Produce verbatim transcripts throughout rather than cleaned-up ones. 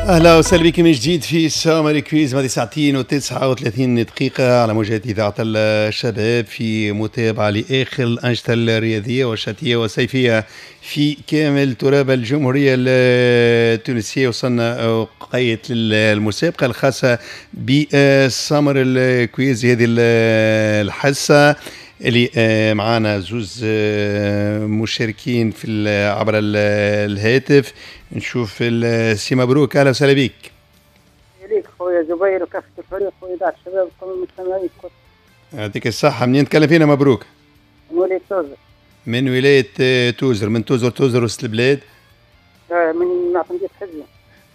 اهلا وسهلا بكم من جديد في Summer Quiz، ماضي ساعتين وتسعة وثلاثين دقيقة على موجات إذاعة الشباب، في متابعة لآخر الأنشطة الرياضية والشتوية والصيفية في كامل تراب الجمهورية التونسية. وصلنا وقيت للمسابقة الخاصة ب Summer ال Quiz، هذه الحصة اللي معانا زوز مشاركين في عبر الهاتف. نشوف السي مبروك، اهلا وسهلا بك. ليك خويا زبير وكافة الفريق وإذاعة الشباب وكل المستمعين. يعطيك الصحة. منين تكلم فينا مبروك؟ من ولاية توزر. من ولاية توزر، من توزر توزر وسط البلاد؟ من معتمدية حزوة.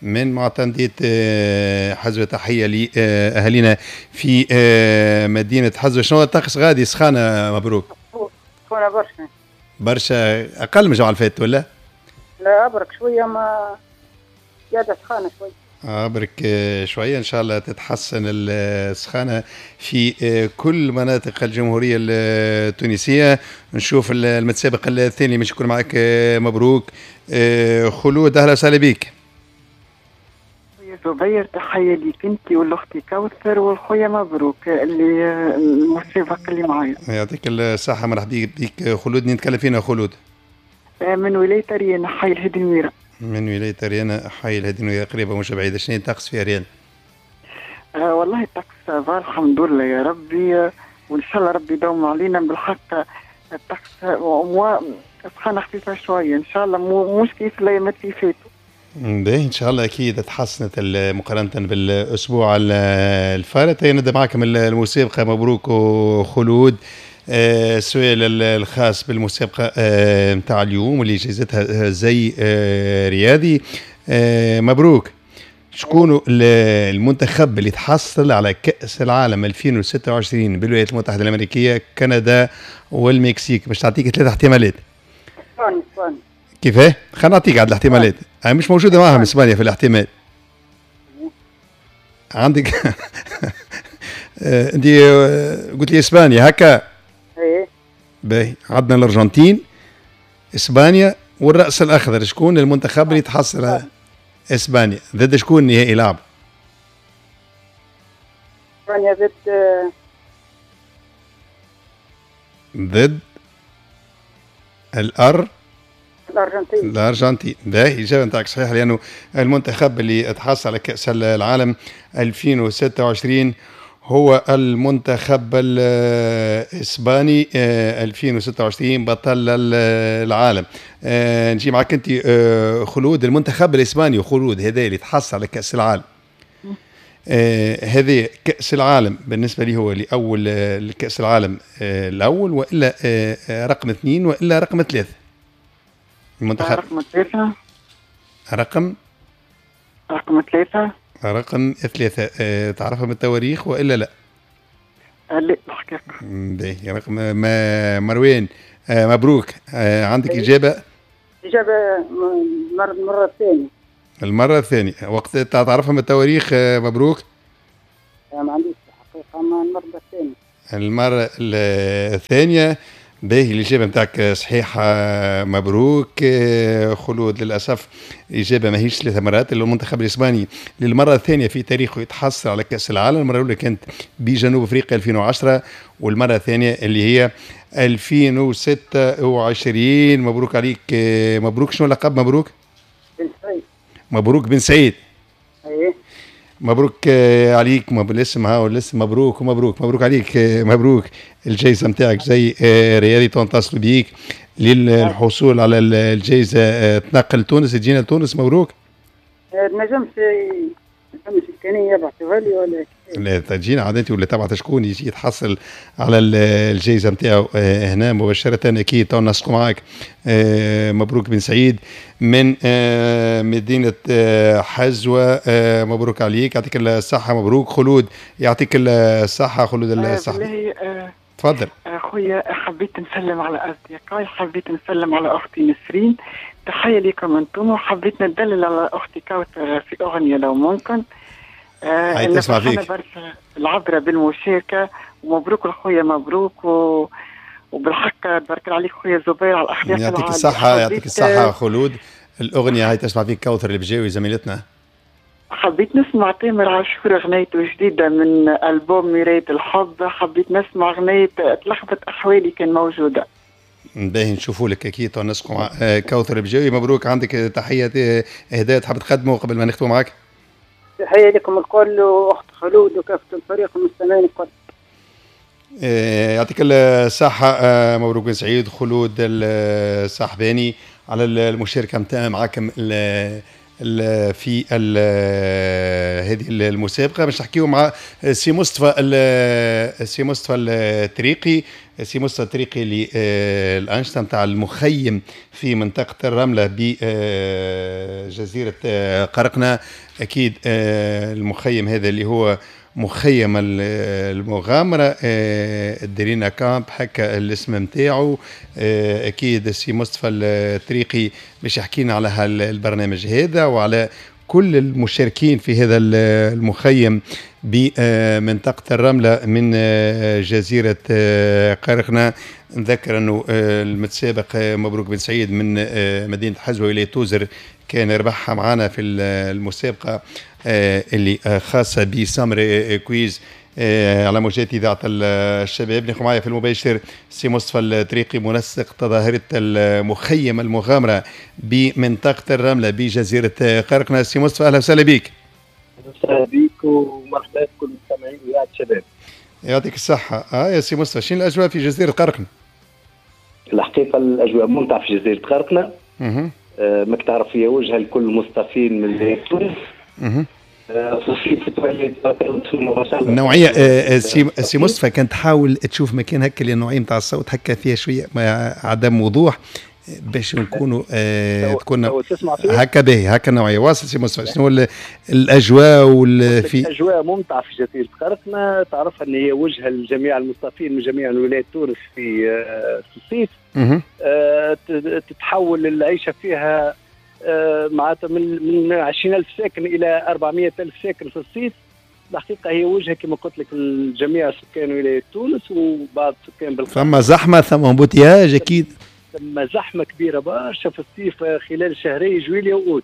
من معتمدية حزوة، تحية لأهالينا في مدينة حزوة. شنو الطقس غادي؟ سخانة مبروك؟ سخونة برشا. برشا، أقل من الجمعة اللي فاتت ولا؟ لا أبرك شوية، ما زيادة سخانة شوية. أبرك شوية، إن شاء الله تتحسن السخانة في كل مناطق الجمهورية التونسية. نشوف المتسابق الثاني مش يكون معك مبروك، خلود، أهلا وسهلا بك. زبير تحية ليك انت والاختي كوثر والخويا مبروك اللي المسابق اللي معايا. يعطيك الصحة، مرحبا بك خلود. نتكلم فينا خلود؟ من ولاية أريانا، حي الهادي نويرة. من ولاية أريانا، حي الهادي نويرة، قريبة مش بعيدة. شنو الطقس في أريانا؟ آه والله الطقس va الحمد لله يا ربي، وإن شاء الله ربي يدوم علينا. بالحق الطقس سخانة خفيفة شوية إن شاء الله، مو مش كيف الأيامات اللي فاتوا. باهي ان شاء الله اكيد تحسنت مقارنة بالاسبوع الفارط. نبدا معكم المسابقة مبروك وخلود. السؤال الخاص بالمسابقه نتاع اليوم واللي جائزتها زي رياضي. مبروك، شكون المنتخب اللي تحصل على كأس العالم ألفين وستة وعشرين بالولايات المتحدة الأمريكية، كندا والمكسيك؟ باش تعطيك ثلاث احتمالات. اسبانيا. اسبانيا. كيفاه؟ خلينا نعطيك عاد الاحتمالات، مش موجودة معاهم اسبانيا في الاحتمال. عندك انت قلت لي اسبانيا هكا؟ ايه. باهي، عندنا الارجنتين، اسبانيا والرأس الأخضر. شكون المنتخب اللي تحصل على اسبانيا؟ ضد شكون نهائي لعب؟ اسبانيا ضد ضد الأر الأرجنتين. الأرجنتين. باهي، الإجابة نتاعك صحيحة، لأنه المنتخب اللي تحصل على كأس العالم ألفين وستة وعشرين هو المنتخب الإسباني ألفين وستة وعشرين بطل العالم. نجي معك أنت خلود. المنتخب الإسباني خلود هذا اللي تحصل على كأس العالم، هذا كأس العالم بالنسبة لي هو لأول كأس العالم الأول، وإلا رقم اثنين وإلا رقم ثلاثة؟ المنتخب رقم ثلاثة. رقم رقم ثلاثة. رقم ثلاثة. أه تعرفها من التواريخ وإلا لا؟ لا الحقيقة. باهي، رقم ما مروان. آه مبروك، آه عندك إجابة؟ إجابة المرة الثانية. المرة الثانية، وقت تعرفها من التواريخ آه مبروك؟ لا ما عنديش الحقيقة، ما المرة الثانية. المرة الثانية. باهي، الإجابة نتاعك صحيحة مبروك. خلود للأسف الإجابة ماهيش ثلاث مرات. المنتخب الإسباني للمرة الثانية في تاريخه يتحصل على كأس العالم. المرة الأولى كانت بجنوب أفريقيا ألفين وعشرة، والمرة الثانية اللي هي ألفين وستة وعشرين. مبروك عليك مبروك. شنو اللقب مبروك؟ بن سعيد. مبروك بن سعيد. ايه مبروك عليك. الاسم ها والاسم مبروك ومبروك مبروك عليك مبروك. الجائزة نتاعك زي رياضي تنتصل بيك للحصول على الجائزة. تنقل تونس، تجينا لتونس مبروك؟ نجمش فماش امكانية يبعثوها لي ولا لا؟ تجينا عاد انت ولا تبعث شكون يجي يتحصل على الجائزة نتاعو هنا مباشرة. اكيد تو نسقوا معاك. مبروك بن سعيد من مدينة حزوه، مبروك عليك، يعطيك الصحة. مبروك خلود، يعطيك الصحة خلود الصحة. تفضل خويا. حبيت نسلم على اصدقائي، حبيت نسلم على اختي نسرين، تحية لكم انتم، وحبيت ندلل على اختي كوثر في اغنية لو ممكن. آه تسمع فيك برشا العبرة بالمشاركة، ومبروك لخويا مبروك و... وبالحق تبارك الله عليك خويا زبير على الاخلاق. يعطيك الصحة، يعطيك الصحة خلود. الاغنية هاي تسمع فيك كوثر البجاوي زميلتنا. حبيت نسمع تامر عاشور أغنيته جديدة من ألبوم مراية الحب، حبيت نسمع أغنية تلخبط أحوالي كان موجودة. باهي نشوفوا لك اكيد نسقوا مع كوثر بجاوي. مبروك، عندك تحية اهداء تحب تقدمه قبل ما نختموا معك؟ تحية لكم الكل واخت خلود وكافة الفريق المستمعين الكل. يعطيك الصحة، مبروك بن سعيد خلود الصحباني على المشاركة نتاع معاكم في هذه المسابقة. باش نحكيو مع سي مصطفى سي مصطفى التريقي، سي مصطفى التريقي اللي الأنشطة نتاع المخيم في منطقة الرملة بجزيرة قرقنة. أكيد المخيم هذا اللي هو مخيم المغامرة الدرينا camp هكا الاسم نتاعو. أكيد السي مصطفى التريقي باش يحكينا على هالبرنامج هذا وعلى كل المشاركين في هذا المخيم بمنطقة الرملة من جزيرة قرقنة. نذكر أنه المتسابق مبروك بن سعيد من مدينة حزوة ولاية توزر كان ربحها معنا في المسابقة اللي خاصة ب summer quiz على موجات إذاعة الشباب. ناخذ معايا في المباشر سي مصطفى التريقي منسق تظاهرة المخيم المغامرة بمنطقة الرملة بجزيرة قرقنة. سي مصطفى أهلا وسهلا بك. أهلا وسهلا بك ومرحبا بكل المستمعين وإذاعة الشباب. يعطيك الصحة. آه يا سي مصطفى، شنو الأجواء في جزيرة قرقنة؟ الحقيقة الأجواء ممتعة في جزيرة قرقنة. آه ماك تعرف هي وجهة لكل المصطفين من تونس. النوعية سي سي مصطفى كانت تحاول تشوف مكان هكا اللي النوعية نتاع الصوت هكا فيها شوية عدم وضوح باش نكونوا آه تكون هكا باهي هكا النوعية. واصل سي مصطفى، شنو الأجواء وال في الأجواء ممتعة في جزيرة قرقنة. تعرف أن هي وجهة لجميع المصطفين من جميع ولايات تونس في في الصيف. آه تتحول العيشة فيها معناتها من من عشرين ألف ساكن إلى أربعمائة ألف ساكن في الصيف. الحقيقة هي وجهة كما قلت لك لجميع سكان ولاية تونس وبعض سكان بالخارج. ثم زحمة، ثم embouteillage أكيد. ثم زحمة كبيرة برشا في الصيف خلال شهري جويلية وأوت.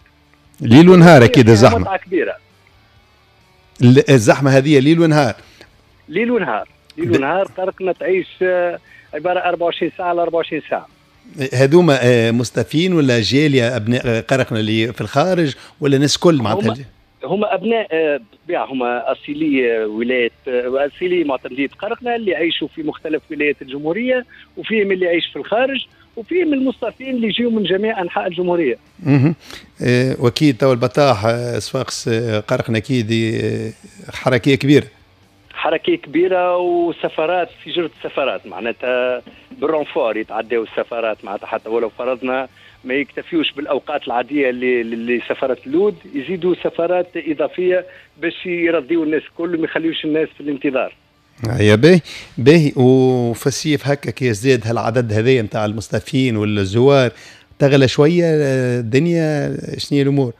ليل ونهار أكيد الزحمة. متعة كبيرة. الزحمة هذه ليل ونهار. ليل ونهار، ليل ونهار. قرقنة تعيش عبارة أربعة وعشرين ساعة على أربعة وعشرين ساعة. هذوما مستفين ولا جالية أبناء قرقنة اللي في الخارج ولا ناس كل معناتها؟ هما أبناء بالطبيعة، هما أصيلي ولاية أصيلي معتمدية قرقنة اللي يعيشوا في مختلف ولايات الجمهورية، وفيهم اللي يعيش في الخارج، وفيهم المصطفين اللي يجيوا من جميع أنحاء الجمهورية. اها وأكيد تو البطاح صفاقس قرقنة أكيد حركية كبيرة. حركية كبيرة وسفرات في جرة السفرات، معناتها بال renfort يتعداو السفرات، معناتها حتى ولو فرضنا ما يكتفيوش بالأوقات العادية اللي اللي سفرات اللود، يزيدوا سفرات إضافية باش يرضيوا الناس الكل وما يخليوش الناس في الانتظار. يا باهي باهي. وفي الصيف هكا كي يزداد هالعدد هذايا نتاع المستفين والزوار تغلى شوية الدنيا، شنو هي الأمور؟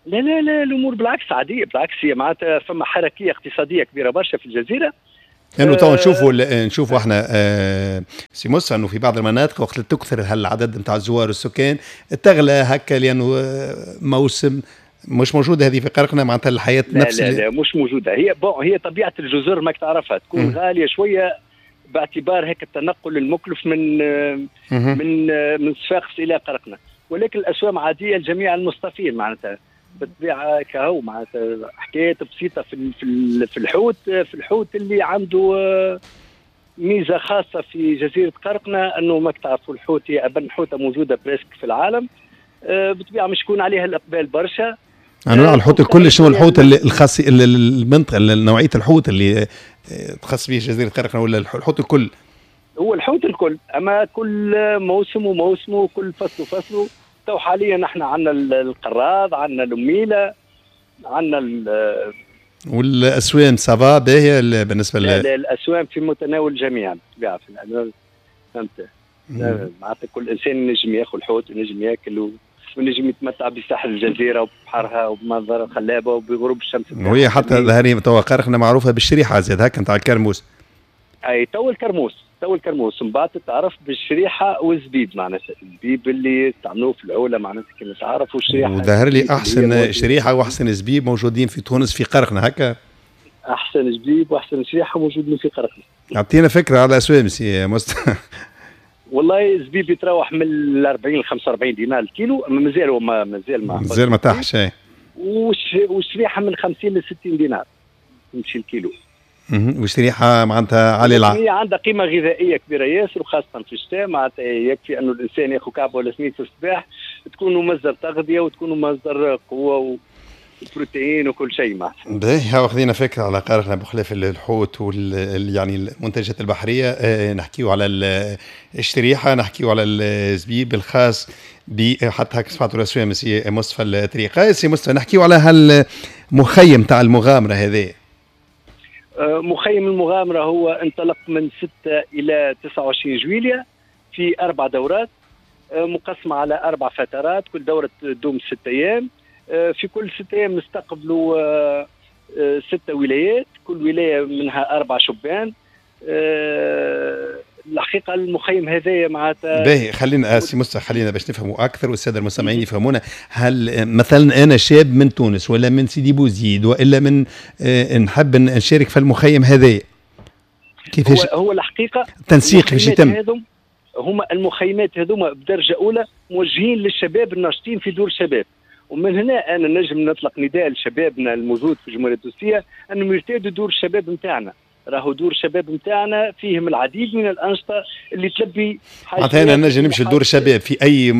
لا لا لا الامور بالعكس عادية، بالعكس هي معناتها فما حركية اقتصادية كبيرة برشا في الجزيرة. لانه تو نشوفوا نشوفوا احنا آه سي موسى انه في بعض المناطق وقت تكثر هالعدد نتاع الزوار والسكان تغلى هكا لانه موسم مش موجودة هذه في قرقنة، معناتها الحياة لا نفس لا لا مش موجودة هي. bon هي طبيعة الجزر ماك تعرفها تكون م. غالية شوية باعتبار هيك التنقل المكلف من م. من من صفاقس الى قرقنة، ولكن الاسوام عادية لجميع المصطفين معناتها بالطبيعة كهو معناتها حكايات بسيطة في في الحوت، في الحوت اللي عنده ميزة خاصة في جزيرة قرقنة انه ماك تعرفوا الحوت هي ابن حوته موجودة presque في العالم، بالطبيعة مش يكون عليها الاقبال برشا. انواع الحوت الكل، شنو الحوت الخاص المنطقة نوعية الحوت اللي تخص به جزيرة قرقنة ولا الحوت الكل؟ هو الحوت الكل، اما كل موسم وموسمه وكل فصل وفصله. تو حاليا نحن عندنا القراض، عندنا الأميلة، عندنا ال والاسوام ça va باهيه بالنسبة ل الاسوام في متناول الجميع بالطبيعة، فهمت معناتها كل انسان ينجم ياخذ الحوت وينجم ياكل ونجم يتمتع بساحل الجزيرة وبحرها وبمنظر الخلابه وبغروب الشمس. وهي حتى ظهري توا قرقنة معروفة بالشريحه زاد هكا نتاع الكرموس. اي تو الكرموس، والكرموس، من بعد تعرف بالشريحه والزبيب، معناتها الزبيب اللي تعملوه في العوله معناتها كما تعرف، والشريحه. وظهر لي احسن شريحة واحسن زبيب موجودين في تونس في قرقنة هكا. احسن زبيب واحسن شريحة موجودين في قرقنة. اعطينا فكرة على اسوام سي مصطفى. والله الزبيب يتراوح من أربعين ل خمسة وأربعين دينار الكيلو، مازال ما مازال ما مازال ما طاحش. والشريحه من خمسين ل ستين دينار تمشي الكيلو. والشريحه معناتها عالية الع... هي عندها قيمة غذائية كبيرة ياسر، وخاصة في الشتاء معناتها يكفي انه الانسان ياخذ كعبه ولا اثنين في الصباح تكون مصدر تغذية وتكون مصدر قوة وبروتين وكل شيء معناتها. باهي، هاو خذينا فكرة على قرقنة بخلاف الحوت وال يعني المنتجات البحرية. اه نحكيو على الشريحة، نحكيو على الزبيب الخاص ب حتى هكا سمعتوا الاسوام سي مصطفى الطريقة. سي مصطفى نحكيو على هالمخيم تاع المغامرة هذا. مخيم المغامرة هو انطلق من ستة إلى تسعة وعشرين جويلية في أربع دورات مقسمة على أربع فترات، كل دورة تدوم ستة أيام. في كل ستة أيام نستقبلوا ستة ولايات، كل ولاية منها أربع شبان. الحقيقة المخيم هذايا معناتها باهي. خلينا سي مصطفى خلينا باش نفهموا اكثر والسادة المستمعين يفهمونا. هل مثلا انا شاب من تونس ولا من سيدي بوزيد والا من آه نحب نشارك في المخيم هذايا، كيفاش هو, هو الحقيقة التنسيق كيفاش يتم؟ هما المخيمات هذوما بدرجة اولى موجهين للشباب الناشطين في دور الشباب، ومن هنا انا نجم نطلق نداء لشبابنا الموجود في الجمهورية التونسية انهم يرتادوا دور الشباب نتاعنا. راهو دور الشباب نتاعنا فيهم العديد من الانشطة اللي تلبي حاجات. معناتها نجم نمشي لدور الشباب في اي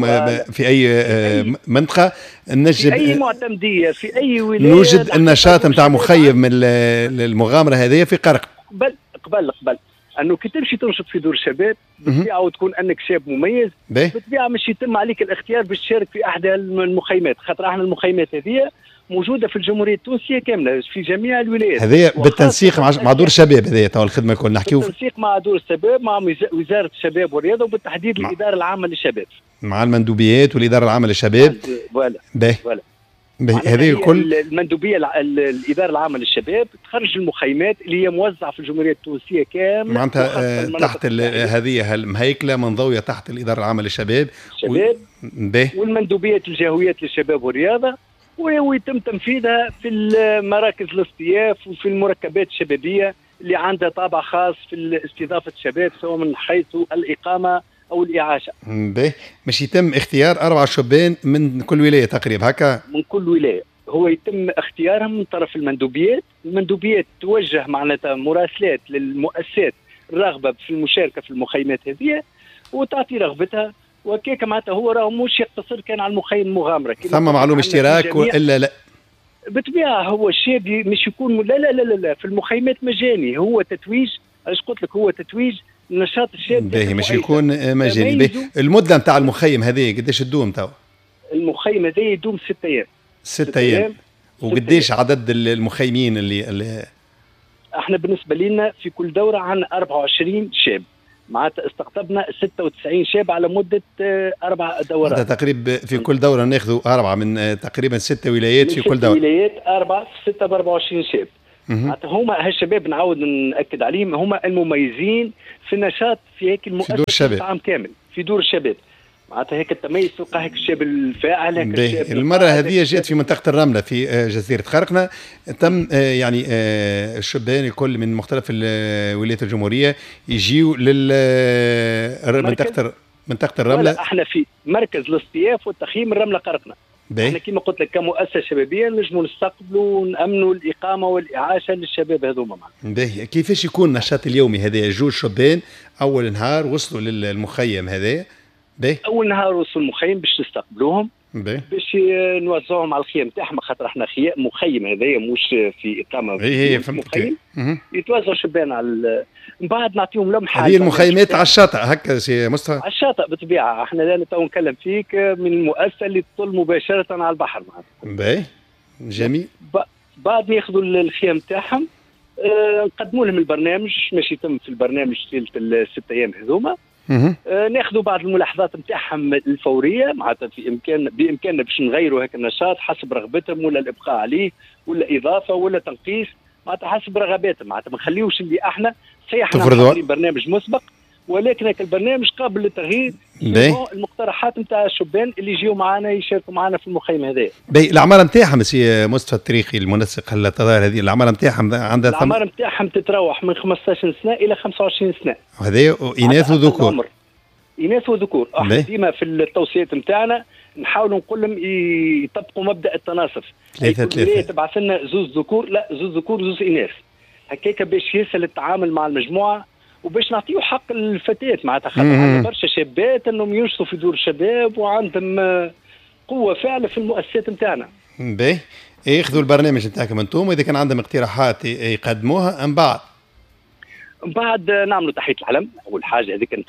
في اي منطقة، نجم في اي معتمديه في اي ولاية نوجد النشاط نتاع مخيم المغامرة هذه في قرق. قبل قبل قبل انه كي تمشي تنشط في دور الشباب بالطبيعة وتكون انك شاب مميز بالطبيعة مش يتم عليك الاختيار باش تشارك في احدى المخيمات، خاطر احنا المخيمات هذه موجودة في الجمهورية التونسية كاملة في جميع الولايات. هذه بالتنسيق مع مع دور الشباب، هذه تو الخدمة الكل نحكيو بالتنسيق مع دور الشباب، مع وزارة الشباب والرياضة، وبالتحديد مع الادارة العامة للشباب، مع المندوبيات والادارة العامة للشباب. voilà باهي voilà هذه الكل المندوبيه الادارة العامة للشباب تخرج المخيمات اللي هي موزعة في الجمهورية التونسية كاملة، معناتها تحت هذه المهيكله منضويه تحت الادارة العامة للشباب الشباب و... والمندوبيات الجهويات للشباب والرياضة، ويتم تنفيذها في المراكز الاصطياف وفي المركبات الشبابية اللي عندها طابع خاص في استضافة الشباب سواء من حيث الاقامة او الاعاشه. باهي، مش يتم اختيار اربع شبان من كل ولاية تقريبا هكا؟ من كل ولاية هو يتم اختيارهم من طرف المندوبيات، المندوبيات توجه معناتها مراسلات للمؤسسات الراغبه في المشاركة في المخيمات هذه وتعطي رغبتها، وكيك معناتها هو راه مش يقتصر كان على المخيم المغامرة. ثم معلوم اشتراك والا لا؟ بالطبيعة هو الشاب مش يكون لا لا لا لا, لا في المخيمات مجاني، هو تتويج، علاش قلت لك هو تتويج نشاط الشاب. باهي، مش يكون مجاني. باهي، المدة نتاع المخيم هذه قداش تدوم تو؟ المخيم هذا يدوم ستة ايام. ستة ايام. وقداش عدد المخيمين اللي, اللي احنا بالنسبة لنا في كل دوره عندنا أربعة وعشرين شاب، معناتها استقطبنا ستة وتسعين شاب على مدة أربع دورات. تقريبا في كل دورة ناخذوا أربعة من تقريبا ستة ولايات في كل دورة. ولايات أربعة في ستة ب أربعة وعشرين شاب. معناتها هما هالشباب نعاود نأكد عليهم هما المميزين في النشاط في هيك المؤسسة في عام كامل في دور الشباب. معناتها هيك التميز تلقى هيك الشاب الفاعل هيك الشاب. المرة هذه جات في منطقة الرملة في جزيرة خرقنا، تم يعني الشبان الكل من مختلف الولايات الجمهورية يجيوا لل منطقة منطقة الرملة. احنا في مركز الاصطياف والتخييم الرملة قرقنا. احنا كما قلت لك كمؤسسة شبابية نجموا نستقبلوا ونامنوا الاقامة والاعاشه للشباب هذوما معنا. باهي، كيفاش يكون النشاط اليومي هذا؟ جوج شبان اول نهار وصلوا للمخيم هذا. باهي، اول نهار وصلوا المخيم باش نستقبلوهم، باش نوزعوهم على الخيام تاعهم، خاطر احنا خيام مخيم هذايا مش في اقامه. اي اي فهمت. يتوزعوا شبان على من بعد نعطيهم لمحه. هذه المخيمات على الشاطئ هكا سي مصطفى؟ على الشاطئ بالطبيعة، احنا لا تو نكلم فيك من المؤسسة اللي تطل مباشرة على البحر معناتها. باهي، جميل. بعد ما ياخذوا الخيام تاعهم اه نقدموا لهم البرنامج، ماشي يتم في البرنامج طيلة الست ايام هذوما. آه ناخذوا بعض الملاحظات نتاعهم الفورية، معناتها في امكان بامكاننا باش نغيروا هيك النشاط حسب رغبتهم، ولا الابقاء عليه ولا اضافه ولا تنقيص، معناتها حسب رغباتهم، معناتها ما نخليوش اللي احنا صحيح احنا برنامج مسبق، ولكن البرنامج قابل للتغيير. المقترحات نتاع الشبان اللي يجيو معنا يشاركوا معنا في المخيم هذا. باهي الاعمار نتاعهم سي مصطفى الطريقي المنسق التظاهر هذه، الاعمار نتاعهم عندها الاعمار نتاعهم تتراوح من خمسطاش سنة الى خمسة وعشرين سنة. وهذا اناث وذكور. اناث وذكور، احنا ديما في التوصيات نتاعنا نحاولوا نقول لهم يطبقوا مبدا التناصف. ثلاثة ثلاثة. تبعث لنا زوز ذكور، لا زوز ذكور زوز اناث. هكاك باش يسهل التعامل مع المجموعة وباش نعطيو حق الفتيات، معناتها خاطر عندنا برشا شابات انهم ينشطوا في دور الشباب وعندهم قوة فاعله في المؤسسات نتاعنا. باهي، ياخذوا البرنامج نتاعكم انتم، واذا كان عندهم اقتراحات يقدموها من بعد. من بعد نعملوا تحية العلم، اول حاجة هذيك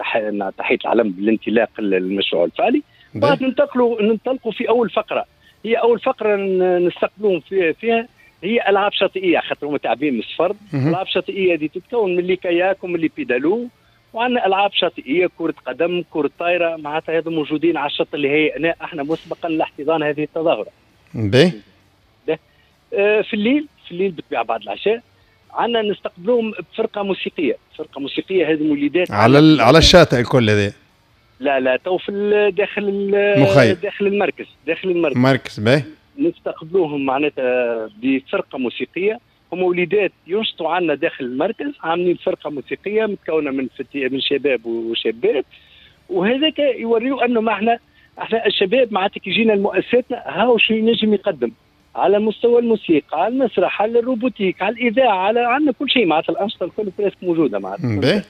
تحية العلم بالانطلاق المشروع الفعلي. بعد ننتقلوا ننطلقوا في اول فقره، هي اول فقره نستقبلوهم فيها هي العاب شاطئيه، خاطر هما تعبين من السفر. العاب شاطئيه دي تتكون من les kayaks ومن les pédalos، وعندنا العاب شاطئيه كره قدم، كره طايره، معناتها هذو موجودين على الشط اللي هيئناه احنا مسبقا لاحتضان هذه التظاهرة. باهي. آه في الليل، في الليل بالطبيعة بعد العشاء عندنا نستقبلوهم بفرقة موسيقية، فرقه موسيقية هذه مولدات على على الشاطئ الكل هذا. لا لا تو في داخل مخيم، داخل المركز، داخل المركز. مركز باهي. نستقبلوهم معناتها بفرقة موسيقية، هم وليدات ينشطوا عندنا داخل المركز، عاملين فرقه موسيقية متكونه من من شباب وشابات، وهذاك يوريو انه ما احنا احنا الشباب معناتها كي جينا لمؤسساتنا هاو شو ينجم يقدم على مستوى الموسيقى، على المسرح، على ال robotique، على الاذاعة، على عندنا كل شيء معناتها الانشطة الكل presque موجودة معناتها.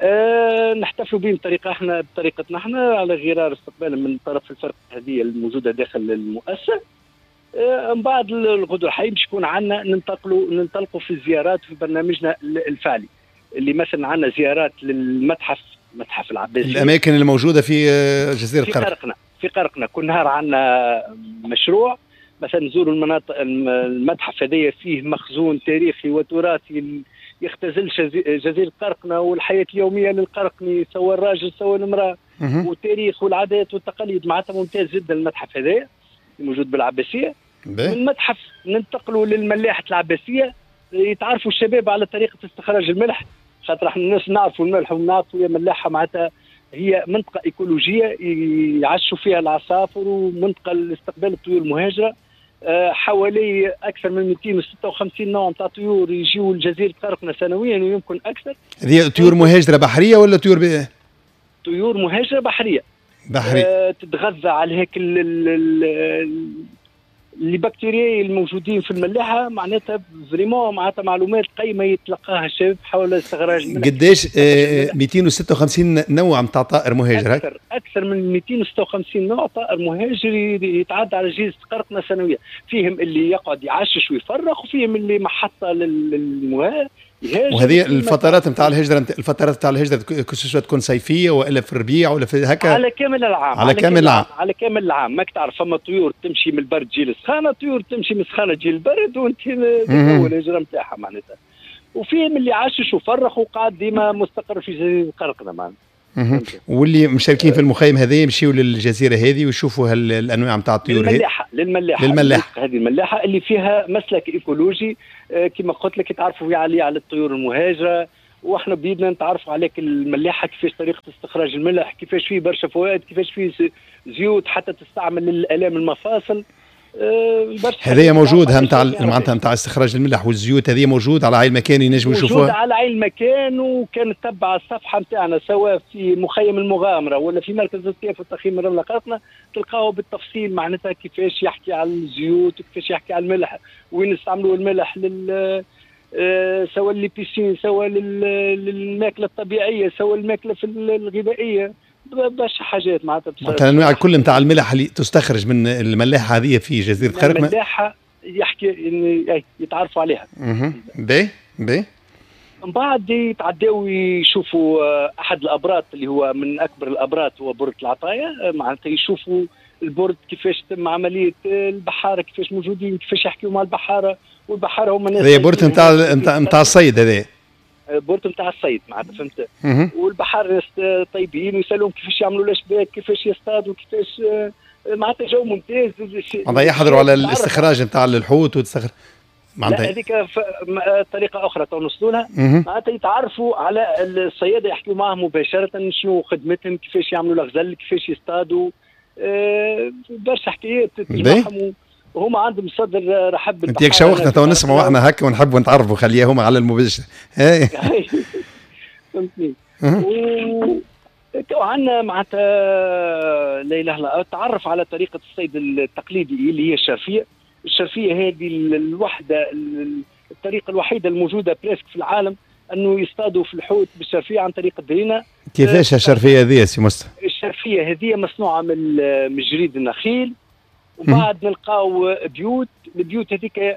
أه نحتفلوا بهم بطريقة احنا بطريقتنا احنا على غرار استقبال من طرف الفرق هذه الموجودة داخل المؤسسة. أه من بعد الغدو الحي باش يكون عندنا ننتقلوا ننطلقوا في الزيارات في برنامجنا الفعلي، اللي مثلا عندنا زيارات للمتحف، متحف العباسية، الاماكن الموجودة في جزيرة في قرقنة. في قرقنة كل نهار عندنا مشروع، مثلا نزوروا المناطق، المتحف هذايا فيه مخزون تاريخي وتراثي يختزل جزيرة قرقنة والحياة اليومية للقرقني، سواء الراجل سواء المرأة، والتاريخ والعادات والتقاليد، معناتها ممتاز جدا المتحف هذايا الموجود بالعباسية. من المتحف ننتقلوا للملاحة العباسية، يتعرفوا الشباب على طريقة استخراج الملح، خاطر احنا الناس نعرفوا الملح ونعرفوا يا ملاحة معناتها هي منطقة إيكولوجية يعشوا فيها العصافر ومنطقة لاستقبال الطيور المهاجرة. حوالي اكثر من مئتين وستة وخمسين نوع نتاع طيور يجيو لجزيرة قرقنة سنويا ويمكن اكثر. هذه طيور مهاجرة بحرية ولا طيور ب... طيور مهاجرة بحرية. بحرية. أه تتغذى على هيك les bactéries الموجودين في الملاحة، معناتها vraiment معناتها معلومات قيمة يتلقاها الشباب حول استخراج. قداش آه مئتين وستة وخمسين نوع نتاع طائر مهاجر؟ اكثر اكثر من مئتين وستة وخمسين نوع طائر مهاجر يتعدى على جزيرة قرقنة سنويا، فيهم اللي يقعد يعشش ويفرخ، وفيهم اللي محطة للمهاجر. وهذه الفترات نتاع الهجرة، الفترات نتاع الهجرة كسوسوا تكون صيفية والا في الربيع ولا في هكا؟ على كامل العام. على, على كامل العام. على كامل العام، ماك تعرف فما طيور تمشي من البرد تجي للسخانه، طيور تمشي من السخانه تجي للبرد، وانت هو الهجرة نتاعها معناتها. وفيهم اللي عاشش وفرخ وقعد ديما مستقر في جزيرة قرقنة معناتها. واللي مشاركين في المخيم هذا يمشيوا للجزيرة هذه ويشوفوا الانواع نتاع الطيور هذه. للملاحه للملاحه للملاحه هذه الملاحة اللي فيها مسلك ايكولوجي كما قلت لك، يتعرفوا عليه على الطيور المهاجره، واحنا بيدنا نتعرفوا عليك الملاحة كيفاش طريقه استخراج الملح، كيفاش فيه برشا فوائد، كيفاش فيه زيوت حتى تستعمل للالام المفاصل. هذه موجود نتاع معناتها نتاع استخراج الملح والزيوت، هذه موجود على عين المكان ينجموا يشوفوها؟ موجود على عين المكان، وكان تبع الصفحة نتاعنا سواء في مخيم المغامرة ولا في مركز الصيف والتخييم الرملة قرقنة، تلقاو بالتفصيل معناتها كيفاش يحكي على الزيوت وكيفاش يحكي على الملح، وين نستعملوا الملح لل سواء les piscines، سواء للماكله الطبيعية، سواء الماكلة في الغذائية، برشا حاجات معناتها. معناتها الانواع الكل نتاع الملح اللي تستخرج من الملاحة هذه في جزيرة قرقنة. الملاحة يحكي إن يتعرفوا عليها. اها باهي باهي. من بعد يتعداو يشوفوا احد الابراط اللي هو من اكبر الابراط، هو برد العطايا، معناتها يشوفوا البرد كيفاش تم عملية البحارة، كيفاش موجودين، كيفاش يحكيوا مع البحارة، والبحاره هما ناس. هذا برد نتاع نتاع الصيد هذا. port نتاع الصيد معناتها فهمت. والبحار ناس طيبين ويسالوهم كيفاش يعملوا الاشباك، كيفاش يصطادوا، كيفاش معناتها جو ممتاز. معناتها يحضروا على الاستخراج نتاع الحوت وتستخرج معناتها هذيك طريقه اخرى توصلوا لها، معناتها يتعرفوا على الصياده، يحكوا معهم مباشرة شنو خدمتهم، كيفاش يعملوا الغزل، كيفاش يصطادوا، أه برشا حكايات تجمعهم وهما عندهم صدر رحب. انت ياك شوقتنا تو نسمعوا احنا هكا ونحبوا نتعرفوا، خليها هما على المباشر. فهمتني. وعندنا معناتها لا اله الا الله، تعرف على طريقه الصيد التقليدي اللي هي الشرفيه. الشرفيه هذه الوحدة، الطريقة الوحيدة الموجودة presque في العالم انه يصطادوا في الحوت بالشرفيه عن طريق الدرينه. كيفاش الشرفيه هذه يا سي مصطفى؟ الشرفيه هذه مصنوعة من من جريد النخيل، وبعد نلقاو بيوت، البيوت هذيك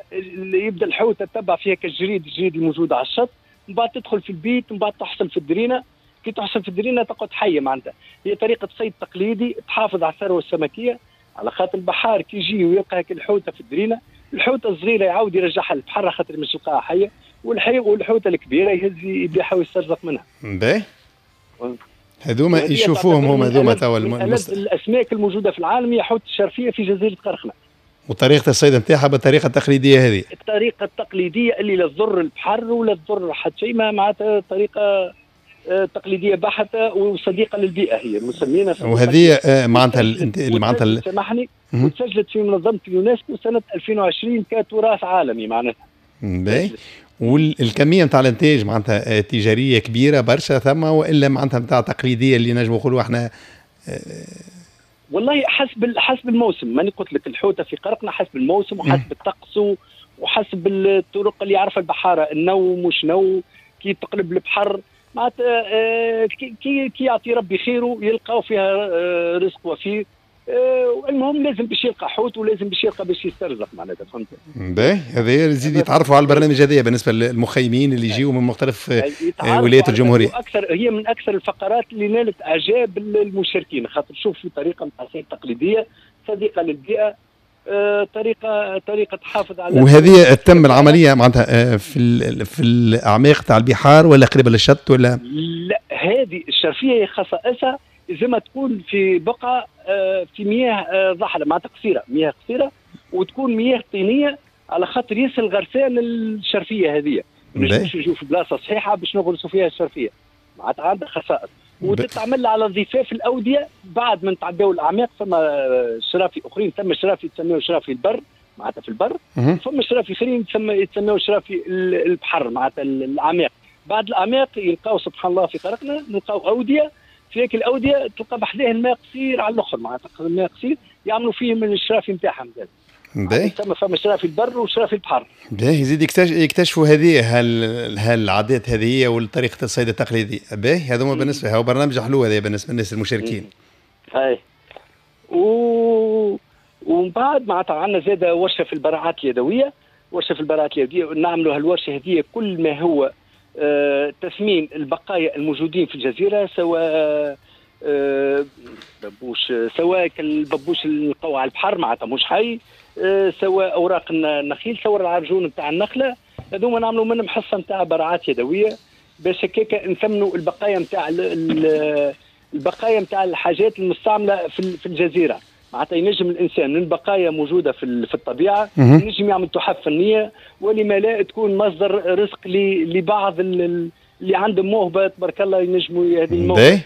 يبدا الحوت تتبع فيها كالجريد، الجريد الموجود على الشط، من بعد تدخل في البيت، من بعد تحصل في الدرينه، كي تحصل في الدرينه تقعد حيه. معناتها هي طريقه صيد تقليدي تحافظ على الثروة السمكيه، على خاطر البحار كي يجي ويلقى هيك الحوته في الدرينه، الحوته الصغيرة يعاود يرجعها للبحر خاطر مش يلقاها حيه، والحي والحوته الكبيرة يهز يبيعها ويسترزق منها. باهي. هذوما يشوفوهم هما هذوما توا الاسماك الموجودة في العالم هي حوت الشرفيه في جزيرة قرقنة. وطريقه الصيد نتاعها بالطريقة التقليدية هذه. الطريقة التقليدية اللي لا تضر البحر ولا تضر حتى شيء، معناتها طريقه تقليدية بحته وصديقه للبيئة، هي مسمينها. وهذه معناتها اللي معناتها سامحني، وتسجلت في منظمة اليونسكو سنة ألفين وعشرين كتراث عالمي معناتها. باهي. والكميه نتاع الانتاج معناتها تجارية كبيرة برشا ثم، والا معناتها نتاع تقليدية اللي نجموا نقولوا احنا؟ والله حسب حسب الموسم، ماني قلت لك الحوته في قرقنة حسب الموسم وحسب الطقس وحسب الطرق اللي يعرفها البحارة، النو مش نو، كي تقلب البحر معناتها كي كي يعطي ربي خيره يلقاو فيها رزق وفير. المهم لازم باش يلقى حوت ولازم باش يلقى باش يسترزق معناتها، فهمت؟ باهي، هذا يزيد يتعرفوا على البرنامج هذايا بالنسبة للمخيمين اللي يجيوا من مختلف ولايات الجمهورية. اكثر هي من اكثر الفقرات اللي نالت اعجاب المشاركين، خاطر شوف في طريقه نتاع صيد تقليدية صديقه للبيئة، طريقه طريقه تحافظ على. وهذه تم العملية معناتها في في الاعماق تاع البحار ولا قريبه للشط ولا؟ لا، هذه الشرفيه خصائصها زي ما تكون في بقعة في مياه ضحله معناتها قصيرة، مياه قصيرة وتكون مياه طينيه على خاطر يسهل غرسان الشرفيه هذه. ما نجموش نجيو في بلاصة صحيحه باش نغرسوا فيها الشرفيه، معناتها عندها خصائص. وتتعمل على ضفاف الاودية بعد ما نتعداو الاعماق. فما شرافي اخرين، ثم شرافي يتسموا شرافي البر معناتها في البر، ثم شرافي اخرين يتسموا شرافي البحر معناتها الاعماق. بعد الاعماق يلقاو سبحان الله في طريقنا نلقاو اوديه، في هيك الاودية تلقى بحذاه الماء قصير على الاخر، معناتها الماء قصير يعملوا فيه من الشرافي نتاعهم زاد. باهي. ثم فما شرافي البر وشرافي البحر. باهي، يزيد يكتشفوا هذه هالعادات هذه والطريقة الصيد التقليدي. باهي، هذوما بالنسبة هو برنامج حلو هذا بالنسبة للناس المشاركين. اي. و ومن بعد معناتها عندنا زاد ورشه في البراعات اليدوية، ورشه في البراعات اليدوية نعملوا هالورشه هذه كل ما هو آه، تثمين البقايا الموجودين في الجزيرة، سواء آه، ببوش، سواء الببوش اللي نلقاوه على البحر معناتها مش حي، آه، سواء اوراق النخيل، سواء العرجون نتاع النخلة، هذوما نعملوا منهم حصة نتاع براعات يدوية باش هكاك نثمنوا البقايا نتاع البقايا نتاع الحاجات المستعملة في الجزيرة. معناتها ينجم الانسان من بقايا موجودة في في الطبيعة ينجم يعمل تحف فنية، ولما لا تكون مصدر رزق لبعض اللي عندهم موهبة تبارك الله ينجموا هذه الموهبة